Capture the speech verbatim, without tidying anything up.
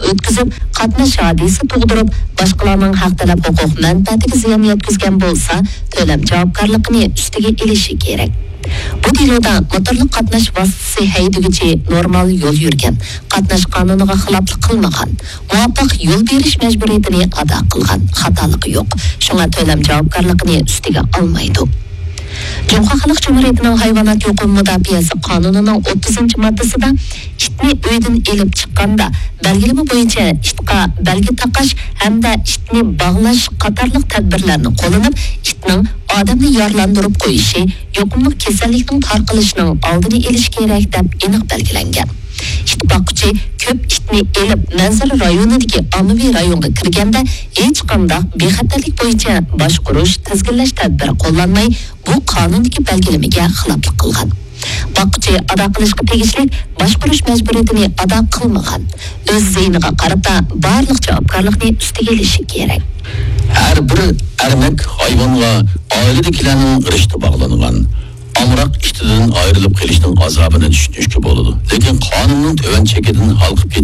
ئۆتكۈزۈپ، قاتناش ھادىسە تۇغدۇرۇپ، باشقىلارنىڭ ھەق تەلەپ ھوقۇق مەنپەئەتىگە زىيان يەتكۈزگەن بولسا، تۆلەم جاۋابكارلىقىنى ئۈستىگە ئېلىشى كېرەك. بۇ دېلودا موتورلۇق قاتناش ۋاسىتىسى ھەيدىگۈچى نورمال يول يۈرگەن، قاتناش قانۇنىغا خىلاپلىق قىلمىغان، مۇۋاپىق يول بېرىش مەجبۇرىيىتىنى ئادا قىلغان، خاتالىقى يوق. شۇڭا تۆلەم جاۋابكارلىقىنى ئۈستىگە ئالمايدۇ. جۇڭخۇا خەلق جۇمھۇرىيىتىنىڭ ھايۋانات ھوقۇقى مۇداپىئەسى قانۇنىنىڭ ئوتتۇزىنچى ماددىسىدا ئىتنى ئۆيدىن ئېلىپ چىققاندا بەلگىلىمە بويىچە ئىتقا بەلگە تاقاش ھەمدە ئىتنى باغلاش قاتارلىق تەدبىرلەرنى قوللىنىپ، ئىتنىڭ ئادەمنى يارىلاندۇرۇپ قويۇشى يۇقۇملۇق كېسەللىكنىڭ تارقىلىشىنىڭ ئالدىنى ئېلىش كېرەك، دەپ ئېنىق بەلگىلەنگەن. ئىت باققۇچى كۆپ ئىتنى ئېلىپ، مەنزىرە رايونىدىكى ئاممىۋى رايونغا كىرگەندە، ھېچقانداق بىخەتەرلىك بويىچە باشقۇرۇش، تىزگىنلەش تەدبىرى قوللانماي، بۇ قانۇندىكى بەلگىلىمىگە خىلاپلىق قىلغان. باققۇچى ئادا قىلىشقا تېگىشلىك باشقۇرۇش مەجبۇرىيىتىنى ئادا قىلمىغان، ئۆز زىيىنىغا قارىتا بارلىق جاۋابكارلىقنى ئۈستىگە ئېلىشى كېرەك. ھەر بىر ئەرمەك ھايۋانغا ئائىلىدىكىلەرنىڭ رىشتە باغلانغان، ئامراق ئىتىدىن ئايرىلىپ قېلىشنىڭ ئازابىنى چۈشىنىشكە بولىدۇ، لېكىن قانۇننىڭ تۆۋەن چېكىدىن ھالقىپ